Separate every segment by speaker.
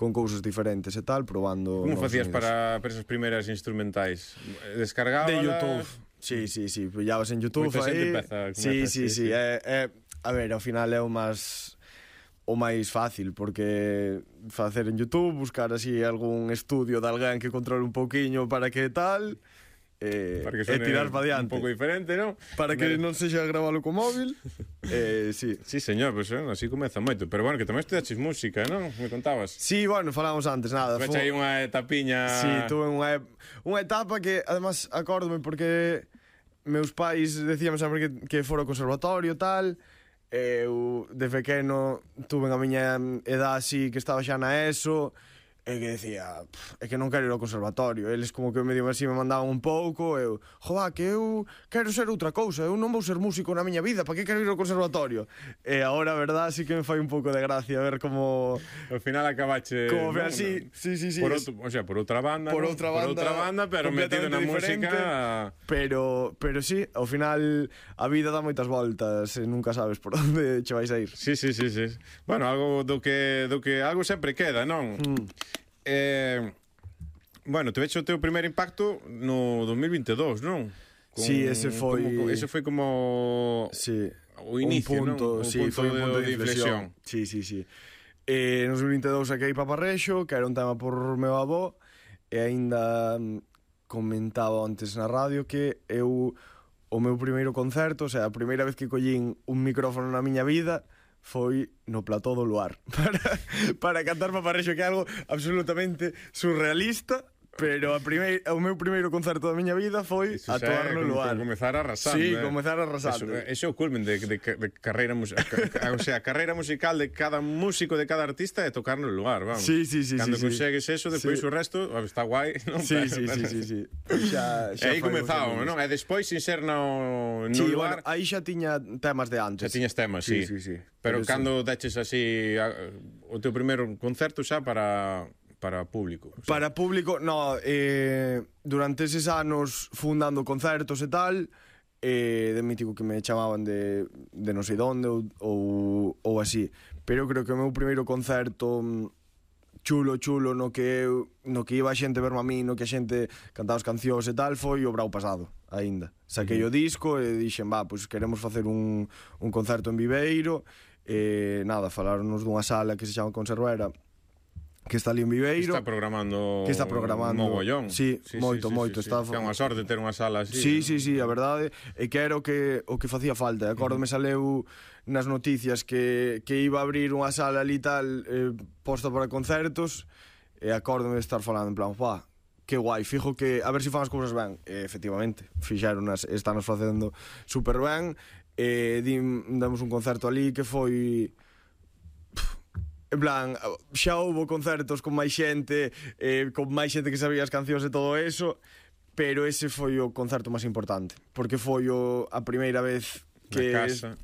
Speaker 1: con cousas diferentes e tal, probando.
Speaker 2: Como facías para esas primeiras instrumentais? Descargábalas?
Speaker 1: De YouTube. Sí, pillabas en YouTube aí. Sí. A ver, ao final é o máis fácil, porque facer en YouTube, buscar así algún estudio de alguén que controle un pouquiño para que tal,
Speaker 2: para que
Speaker 1: e tirar para diante.
Speaker 2: Un pouco diferente, non?
Speaker 1: Para que non sexa gravalo co móvil. Sí.
Speaker 2: Sí, señor, pues así comeza moito. Pero bueno, que tamén estudaches música, non? Me contabas.
Speaker 1: Sí, bueno, falamos antes, nada.
Speaker 2: Fecha aí unha etapiña.
Speaker 1: Sí, tuve unha etapa que, además, acórdome porque meus pais decían sempre que fora ao conservatorio e tal. Eu, de pequeno, tuve a miña edad así, que estaba xa na ESO, e que decía, é que non quero ir ao conservatorio. Eles como que medio así me mandaban un pouco, eu, joa, que eu quero ser outra cousa, eu non vou ser músico na miña vida, para que quero ir ao conservatorio? E agora, a verdad, sí que me fai un pouco de gracia ver como...
Speaker 2: Ao final acabache...
Speaker 1: Como, no, sí.
Speaker 2: Por outra banda, pero metido na música...
Speaker 1: Pero sí, ao final a vida dá moitas voltas e nunca sabes por onde che vais a ir.
Speaker 2: Sí. Bueno, algo do que algo sempre queda, non? Bueno, te vecho o teu primeiro impacto no 2022, non?
Speaker 1: Sí, ese foi
Speaker 2: como o inicio,
Speaker 1: un punto,
Speaker 2: non? Foi un punto de inflexión.
Speaker 1: Sí. No 2022 saquei Paparrexo, que era un tema por meu avó, e aínda comentaba antes na radio que o meu primeiro concerto, o sea, a primeira vez que collín un micrófono na miña vida foi no plató do Luar para cantar Paparrexo, que é algo absolutamente surrealista, pero o meu primeiro concerto da miña vida foi a tocar no Luar.
Speaker 2: Comezar arrasando.
Speaker 1: Sí, comezar arrasando.
Speaker 2: Ese é o culmen de carreira musical. O sea, a carreira musical de cada músico, de cada artista é tocar no Luar, vamos.
Speaker 1: Sí.
Speaker 2: Cando consegues eso, depois o resto está guai, non?
Speaker 1: Sí.
Speaker 2: Xa aí comezamos, non? E despois, sin ser no Luar...
Speaker 1: Bueno, aí xa tiña temas de antes.
Speaker 2: Xa tiñas temas, sí. Pero cando deches así o teu primeiro concerto xa para público? O sea.
Speaker 1: Para público, no, durante eses anos fundando concertos e tal, de mítico que me chamaban de non sei donde ou así, pero creo que o meu primeiro concerto chulo no que iba a xente verme a mí, no que a xente cantaba as cancións e tal, foi o Brau pasado, aínda. Saquei o disco e dixen, pois queremos facer un concerto en Viveiro, e nada, falaronnos dunha sala que se chama Conservera, que está ali en Viveiro,
Speaker 2: que está programando
Speaker 1: mogollón. Sí, moito.
Speaker 2: Está unha sorte ter unha sala así.
Speaker 1: Sí, a verdade é que era o que facía falta. Acórdome saleu nas noticias que iba a abrir unha sala ali tal, posta para concertos, e acórdome de estar falando en plan, que guai, fijo que a ver se fan as cousas ben. E efectivamente, fixeronas, están facendo super ben. Damos un concerto ali que foi... En plan, xa houbo concertos con máis xente, que sabía as cancións e todo eso, pero ese foi o concerto máis importante, porque foi a primeira vez que...
Speaker 2: Na casa.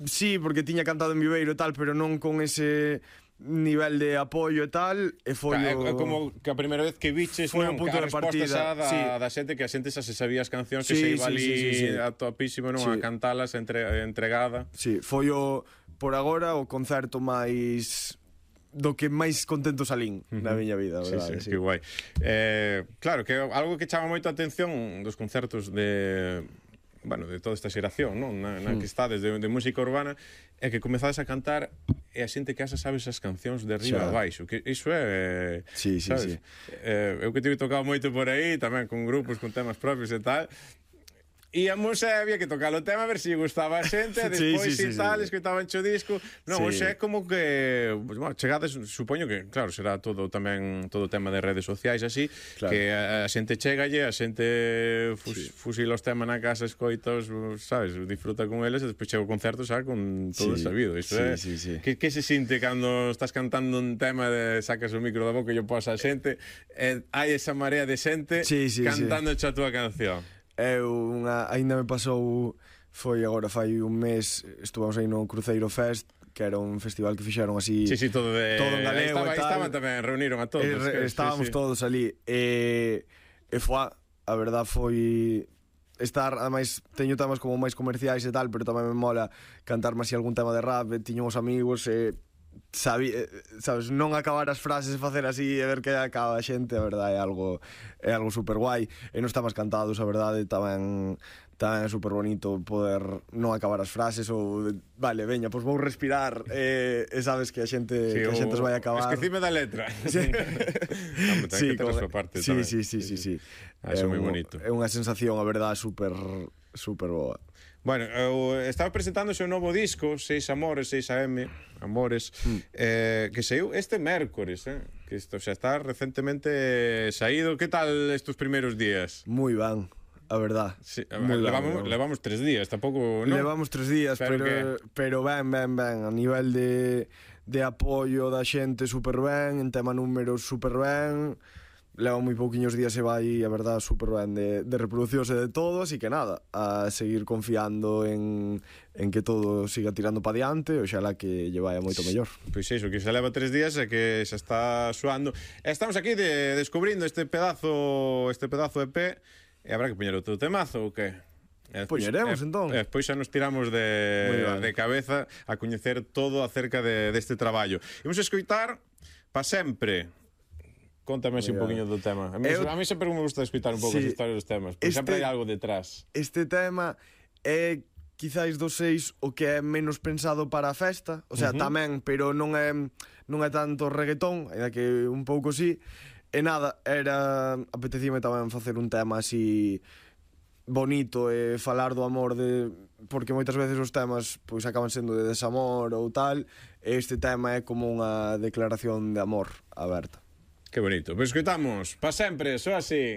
Speaker 1: Sí, porque tiña cantado en Viveiro e tal, pero non con ese nivel de apoio e tal, e foi
Speaker 2: como que a primeira vez que viches,
Speaker 1: foi o punto de partida
Speaker 2: da xente, que a xente xa se sabía as cancións, que se iba ali a topísimo, non, a cantalas entregada. Sí,
Speaker 1: foi por agora o concerto máis do que máis contento salín na miña vida, verdade.
Speaker 2: Sí, que guai. Claro, que algo que chama moito a atención dos concertos de toda esta xeración, non? Na que estades de música urbana, é que comezades a cantar e a xente que sabe esas cancións de arriba a baixo, que iso é...
Speaker 1: Sí.
Speaker 2: Eu que tive tocado moito por aí, tamén con grupos, con temas propios e tal, íamos e había que tocar o tema a ver se gustaba a xente, e despois tal, escoitaban o disco. Non, hoxe é como que chegades, supoño que, claro, será todo tema de redes sociais así, que a xente chegalle, a xente fusila os temas na casa, escoitos, sabes, disfruta con eles, e despois chega o concerto xa con todo sabido. Isto é, que se sinte cando estás cantando un tema, sacas o micro da boca e yo posa a xente, e hai esa marea de xente cantando a túa canción.
Speaker 1: Ainda me pasou, foi agora fai un mes, estuvamos aí no Cruceiro Fest, que era un festival que fixeron así
Speaker 2: todo en
Speaker 1: galego e tal.
Speaker 2: Estaban tamén, reuniron a todos,
Speaker 1: estábamos todos ali, e a verdad foi estar, ademais teño temas como máis comerciais e tal, pero tamén me mola cantarme así algún tema de rap, tiño os amigos e sabes, non acabar as frases e facer así e ver que acaba a xente, a verdade é algo super guai, e non estamos cantados, a verdade, tamén é super bonito poder non acabar as frases ou, vale, veña, pois vou respirar e sabes que a xente os vai acabar.
Speaker 2: Esquecime da letra.
Speaker 1: Sí,
Speaker 2: sí, que ter a súa parte tamén.
Speaker 1: Sí.
Speaker 2: É moi bonito.
Speaker 1: É unha sensación, a verdade, super boa.
Speaker 2: Bueno, estaba presentando o seu novo disco, 6 Amores, 6 AM, Amores, que saiu este mércores, que isto xa está recentemente saído. Que tal estes primeiros días?
Speaker 1: Moi ben, a verdad.
Speaker 2: Sí, levamos 3 días, tampouco, non?
Speaker 1: Levamos 3 días, pero ben, a nivel de apoio da xente super ben, en tema números super ben. Leva moi pouquiños días e vai, a verdad, super ben de reproducións e de todo, así que nada, a seguir confiando en que todo siga tirando pa diante, oxalá que lle vai moito mellor.
Speaker 2: Pois iso, que xa leva 3 días e que xa está suando. Estamos aquí descubrindo este pedazo EP, e habrá que poñer outro temazo ou que?
Speaker 1: Poñeremos, entón.
Speaker 2: Despois xa nos tiramos de cabeza a coñecer todo acerca deste traballo. Imos escoitar Pa Sempre. Contame así un poquinho do tema. A mí sempre me gusta escutar un pouco as historias dos temas, porque sempre hai algo detrás.
Speaker 1: Este tema é quizáis dos 6 o que é menos pensado para a festa, o sea, tamén, pero non é tanto reggaetón, ainda que un pouco sí. E nada, apetecíme tamén facer un tema así bonito e falar do amor, porque moitas veces os temas pois acaban sendo de desamor ou tal, e este tema é como unha declaración de amor aberta.
Speaker 2: Que bonito. Pois escoitamos Pa Sempre, só así.